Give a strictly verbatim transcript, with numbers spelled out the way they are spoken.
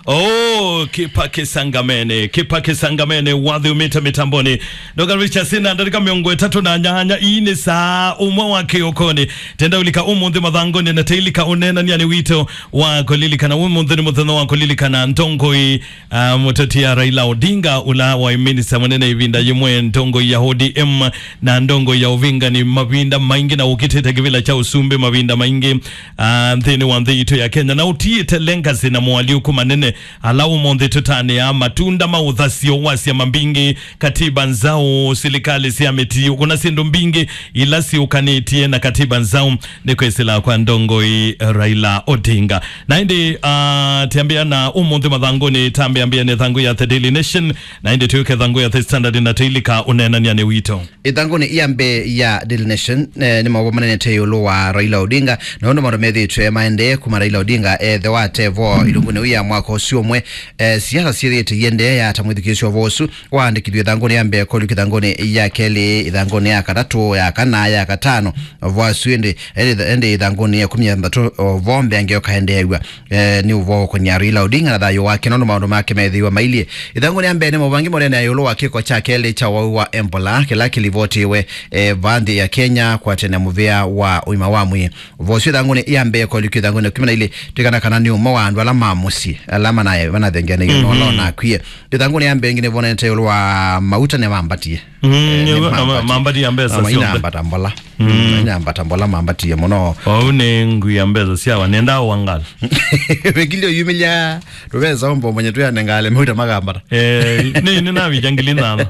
Oh, kĩpa kĩsangamene, kĩpa kĩsangamene, wathi umĩte mĩtamboni. Ndoka Richardson na ndarĩka mĩongo ĩtatũ na nyanya, ii nĩ saa ũmwe wa kĩũkoni. Tenda ũlika ũmũnthĩ mathangũnĩ na teilika ũneenanĩanĩ witũ wa kũlilikana. Ũmũnthĩ nĩ mũthenya wa kũlilikana ndongoi, ah, mũteti ya Raila Odinga, ũla waĩ minista mũnene ĩvinda yĩmwe, ndongoi ya O D M na ndongoi ya ũvingani mavinda maingĩ, na ũkitĩte kĩvĩla kya ũsumbĩ mavinda maingĩ, ah, nthĩnĩ wa nthĩ itũ ya Kenya, na ũtiĩte legacy na moalyũku manene ala ũmũnthĩ tũtanĩaa, matunda ma ũthasyo wa syama mbingĩ, katiba nzaũ, silikalĩ sya mĩtiĩ, kũna syĩndũ mbingĩ ila syũkanĩtye na katiba nzaũ nĩ kwĩsĩla kwa ndongoi Raila Odinga. Na ĩndĩ, ah, tĩambĩa na ũmũnthĩ mathangũnĩ, tambĩa mbĩa nĩ thangũ ya The Daily Nation, na ĩndĩ tũyũke thangũ ya The Standard na tũilika ũneenanĩanĩ witũ. Ĩthangũnĩ ya mbee ya Daily Nation, eh, nĩ maũvoo manenete ĩũlũ wa Raila Odinga, na ũndũ maũndũ methĩĩtwe maendee kuma Raila Odinga ethĩwa atevo ilungunĩ ya mwaka ũsu ũmwe, eh, siasa syĩthĩĩte iendee ya ta mwĩthukĩĩsyo ũvoo ũsu waandĩkithw'e ĩthangũnĩ ya mbee kũlika ĩthangũnĩ ya kelĩ, ĩthangũnĩ ya katatũ, ya kana, ya katano, ũvoo ũsu ĩndĩ, ĩndĩ, ĩndĩ ĩthangũnĩ ya ĩkũmi na thanthatũ ũvoo mbeange ũkaendeew'a. Eh, nĩ ũvoo ũkũnia Raila Odinga na thayũ wake, nũndũ maũndũ make methĩiwe mailyĩ. Ĩthangũnĩ ya mbee nĩ maũvoo angĩ mũnene ĩũlũ wa kĩko kya kelĩ kya wau wa Ebola, kĩla kĩlivotiwe, eh, va nthĩ ya Kenya, kwatene mũvĩa wa ũima wa mwĩĩ. Ũvoo ũsu ĩthangũnĩ ya mbee kũlika ĩthangũnĩ ya ĩkũmi na ilĩ, twĩkana kana nĩ ũmwe wa andũ ala ma mũsyĩ, ala manaye, manathengeanĩie na ũla ũnakwie. Ĩthangũnĩ ya mbee ĩngĩ nĩvonete ĩũlũ wa mauta nĩmambatie. Mm, eh, nĩ nĩvo, na ma-, mambatie. Mambatie mbesa syonthe. Mainambata mbola. Mm. Mainambata mbola mambatie mũno. Vau nĩ ngui ya mbesa syawa, nenda wangala. Wĩkilio yumĩlya, tũvesa ombo mwenye tũyanengale mauta makambata. Eh, nĩ, nĩ navicha ngili nana.